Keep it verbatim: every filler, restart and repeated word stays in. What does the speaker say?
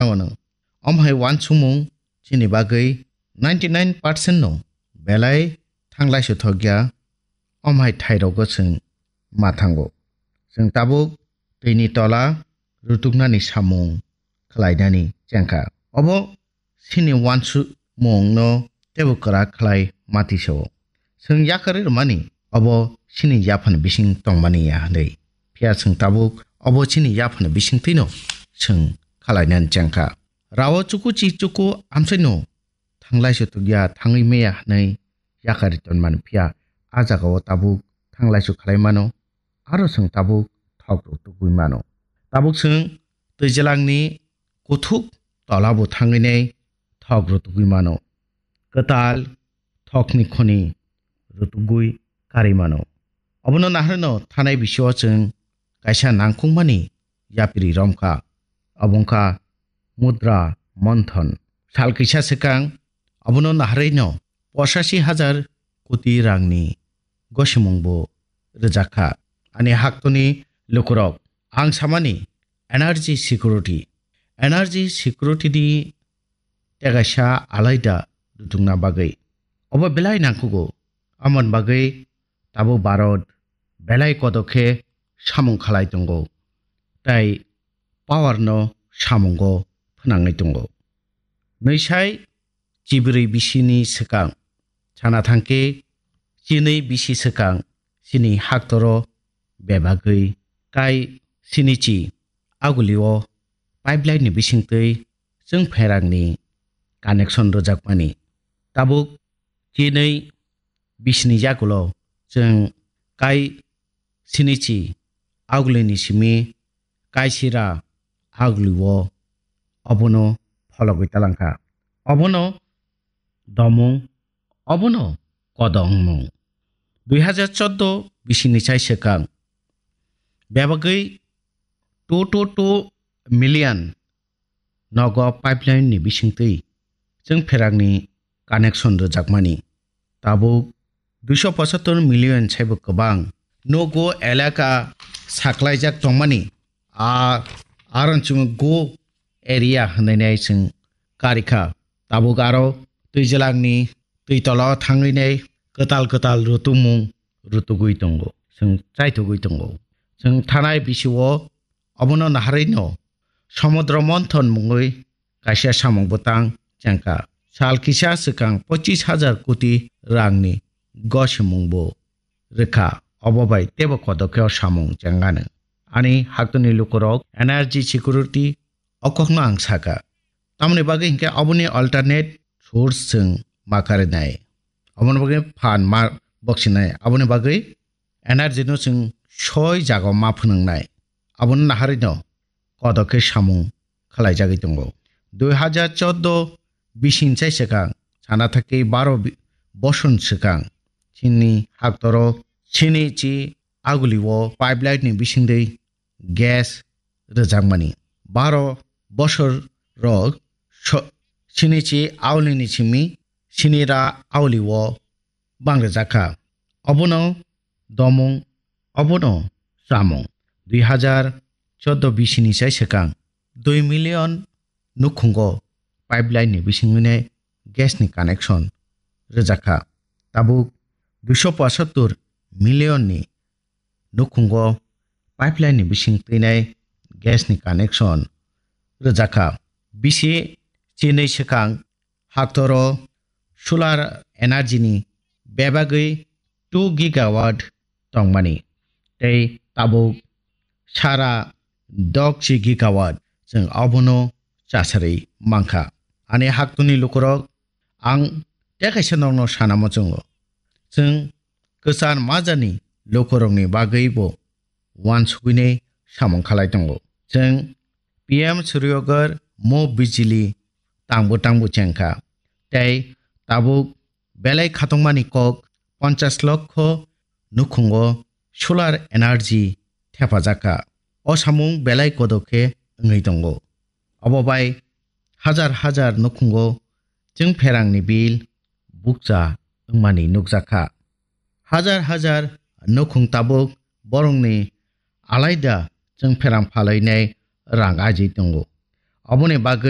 Omo hai uansukmung chini bagwi ninety nine percent no belai thanglai suthokya, omo hai thairogo chwng ma thango. Chwng tabuk twini tola rutuknani samung khlainani chengkha. Obo chini uansukmungno teibo kwrak khlai mati sao. Chwng yakarwi rwmani obo chini yaphani bising tongmani ya hwnwi. Phiya chwng tabuk obo chini yaphani bisingtwino chwng khlainani chengkha. Rao chuku chi chuku amchaino thanglai sutukya, thangwi maya hwnwi yakarwi tonmani, phiya a jagao tabuk thanglai su khlai mano, aro chwng tabuk thok rutugwi mano. Tabuk chwng twijlangni kuthuk tolabo thangwi nai thok rutugwi mano. Kwtal thokni khoni rutugwi karwi mano. Obono naharno thanai bisio chwng kaisa nangkukmani yapiri romkha. Obo wngkha mudra monthon. Sal kisa swkang obono naharino pochashi hajar koti rangni gosimungbo rwjakha. Ani haktoni lukurok, ang samani energy security, energy security ni tegaisa alaida rutungna bagwi. Obo belai nangkugo, amon bagwi tabuk Bharat belai kodo khe samung khalai tongo, tai power no samungo phnangwi tongo. Nwisai chibrwi bisini swkang, sana thangkhe chinwi bisi swkang chini haktoro bebagwi kai sinichi agulio pipeline ni bisingtwi chwng pherangni connection rwjakmani. Tabuk chinwi bisini yagulo chwng kai sinichi agulini simi kaisira agulio obono phologwi talangkha. Obono domung, obono kodongmung. Dui hajar chordo bisini chai swkang bebagwi two to two million nogo pipeline ni bisingtwi chwng pherangni connection rwjakmani. Tabuk duiso pochattor million saibo kwbang nogo elaka saklaijak tongmani, a aron chwng go area hwnwi nai chwng karikha. Tabuk aro twijlangni twi tola thangwi nai kwtal kwtal rutumung rutugwi tongo, chwng chaithugwi tongo. Chwng thanai bisio obono naharwino Samudra Monthon mungwi kaisa samung bwtang chengkha. Sal kisa swkang pochis hajar koti rangni gosimungbo rwkha. Obo bai teibo kodokheo samung chengano. Ani haktoni lukurok energy security o kokno ang sakha. Tamoni bagwi hinkhe oboni alternate source chwng ma karinai. Oboni bagwi phan ma boksinai. Aboni bagwi energy no chwng soi jago ma phwnwngnai. Abono naharwino kodo khe samung khlaijagwi tongo. Dui hajar chordo bising chai swkang sana thakhe baro bi-, boson swkang chini haktoro chini chi aguli o pipeline ni bisingtwi gas rwjakmani. Baro bosor rok so-, chini chi auli ni simi chini ra auli o bang rwjakha. Obono domung, obono chamung. Dui hajar chordo bisini sai swkang dui million nukhungo pipeline ni bisingwini gas ni connection rwjakha. Tabuk duiso pochattor million ni nukhungo pipeline ni bising twinai gas ni connection rwjakha. Bisi chinwi swkang haktoro solar energy ni bebagwi two gigawatt tongmani, tei tabuk sara dokchi gigawatt chwng obono chasarwi mankha. Ani haktoni lukurok, ang tei kaisa nokno sana muchungo. Chwng kwchar majani lukurokni bagwibo uansugwini samung khalai tongo. Chwng P M Suryoghar Mo Bijli tangbo tangbo chengkha. Tei tabuk belai khatungmani kok ponchash lokho nukhungo solar energy thepajakha. O samung belai kodo khe wngwi tongo. Obo bai hajar hajar nukhungo chwng pherangni bill bukcha wngmani nukjakha. Hajar hajar nukhung tabuk borokni alaida chwng pherang phalwi nai rang aji tongo. Oboni bagwi